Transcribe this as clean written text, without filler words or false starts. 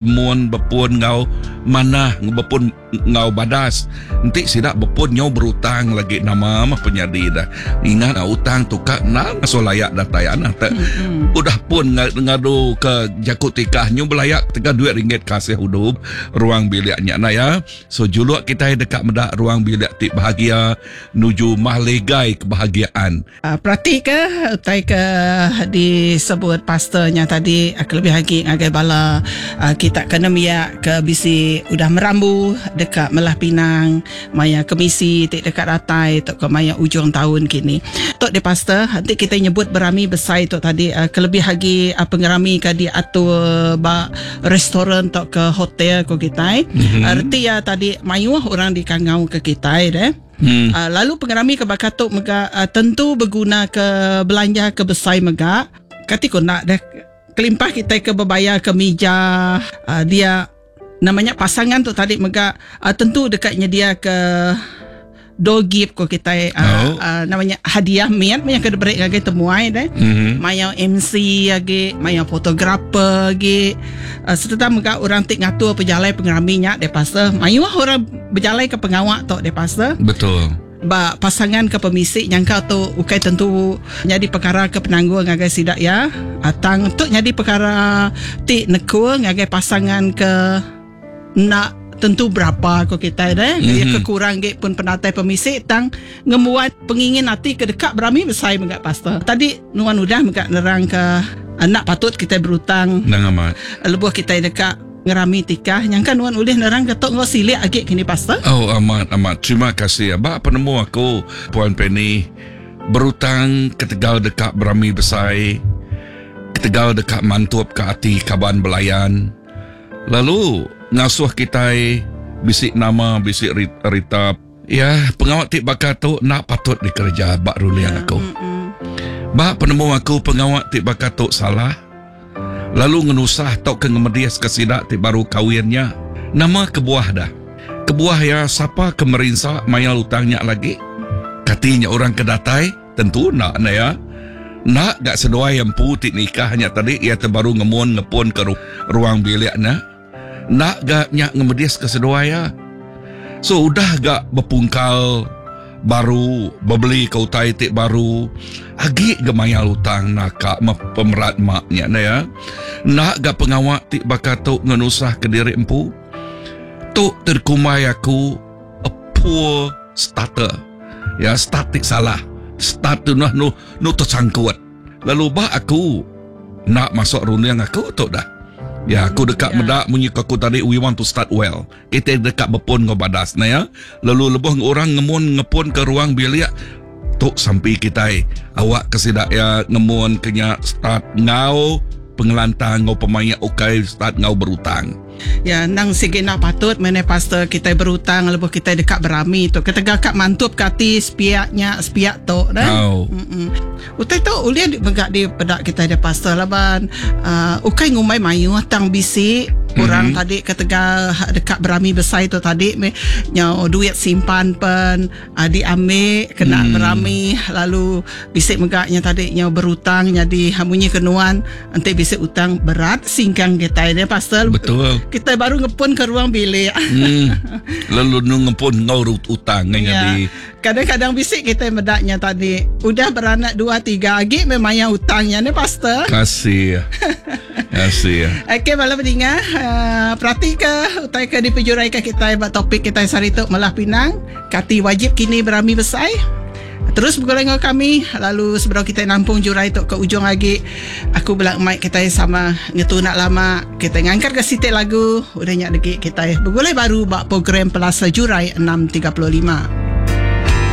Mun bepun enggau manah bepun enggau badas. Enti sida bepun nyau berutang lagi nama mah penyadi dah. Ingat utang tu ka enda ngasuh layak datai anah te udah pun ngadu ke jaku tikah nyu belayak ketegal duit ringgit kasih udu ruang bilik nya nah ya. So juluk kitai deka meda ruang bilik ti bahagia nuju mahligai kebahagiaan. Peratika utai ke disebut pastor nya tadi kelebih agi ngagai bala kita ke nembiak ke bisi udah merambu deka melah pinang maya kemisi ti deka datai tauka maya ujung taun kini. Tu deh pastor enti kitai nyebut berami besai tu tadi kelebih agi pengerami ke diatur ba restoran tauka hotel ku kitai. Reti iya tadi mayuh orang dikangauka kitai deh. Hmm. Uh, lalu pengerami ke baka tu mega uh, tentu beguna ke belanja ke besai mega. Kati ko nak deh kelimpah kita ke bebayar ke mija uh, dia namanya pasangan tu tadi mega uh, tentu dekat nyedia ke door gift ko kita uh, oh. uh, namanya hadiah miat yang ke diberi ngagai temuai deh. Mm -hmm. Maya MC lagi, maya fotografer lagi. Uh, serta mega orang ti ngatur pejalai pengerami nya deh pasal mayuh orang Bejalai ke pengawa tu deh pastor. Betul. Ba pasangan ke pemisi nyangka tu ukai tentu nyadi pekara ke penanggul ngagai sida iya. Tang tu nyadi pekara ti nekul ngagai pasangan ke enda tentu berapa ko kitai deh. Mm-hmm. Iya ke kurang agi pun penatai pemisi tang ngembuan pengingin ati ke deka berami besai mega pastor. Tadi nuan udah mega nerang ke enda patut kitai berutang. Endang amat. Lebuh kitai deka Ngerami tikah nyangka nuan ulih nerang ke tu enggau silik agi kini pastor. Oh amat amat terima kasih ba penemu aku puan Penny berutang ketegal deka berami besai ketegal deka mantup ka ati kaban belayan lalu ngasuh kitai bisi nama bisi rita ya pengawa ti baka tu enda patut dikereja ba ruling aku. Ba penemu aku pengawa ti baka tu salah. Lalu ngenusah tauka ngemediska sida ti baru kawin nya. Nama kebuah dah? Kebuah iya sapa ke merinsa mayar utang nya lagi? Kati nya orang ke datai? Tentu enda enda iya. Enda ga seduai iya empu ti nikah nya tadi iya ti baru ngemun ngepunka ruang bilik nya. Enda ga nya ngemediska seduai iya. So udah ga bepungkal baru bebeli ke utai ti baru agi ga mayar utang naka meh pemerat mak nya enda iya. Enda ga pengawa ti baka tu ngenusah ke diri empu. Tu ti dikumbai aku a poor starter. Ya start ti salah. Start tu nah nu nu tesangkut. Lalu ba aku enda masuk runding aku tu dah. Ya aku deka meda munyi ku aku tadi we want to start well. Kitai deka bepun enggau badas ne ya. Lalu lebuh orang ngemun ngepun ke ruang bilik tu sampi kitai awak ke sida iya ngemun ke nya start enggau pengelantang enggau pemaik ukai start enggau berutang. Ya endang sigi enda patut meh neh pastor kitai berutang lebuh kitai deka berami tu ketegal ka mantup ka ati sepiak nya sepiak tu deh. Au. Mm Utai tu ulih mega dipeda kitai deh pastor laban uhh ukai ngumbai mayuh tang bisi orang mm-hmm. tadi ketegal deka berami besai tu tadi meh nyau duit simpan pen diambi kena berami lalu bisi mega nya tadi nyau berutang nyadi munyi ke nuan enti bisi utang berat singkang kitai deh pasal betul kitai baru ngepun ke ruang bilik hmm. lalu nu ngepun enggau utang ya. nyadi kadang-kadang bisi kitai meda nya tadi udah beranak dua tiga agi meh maya utang nya ne pastor kasih Kasih. Okey bala peninga, uh, peratika utai ke dipejuraika kitai ba topik kitai sehari tu Melah Pinang. Kati wajib kini berami besai? Terus begulai enggau kami lalu sebedau kitai nampung jurai tu ke ujung agi aku bela mai kitai sama ngetu enda lama kitai ngangkatka siti lagu udah nya legi kitai begulai baru ba program Pelasa Jurai 6.35.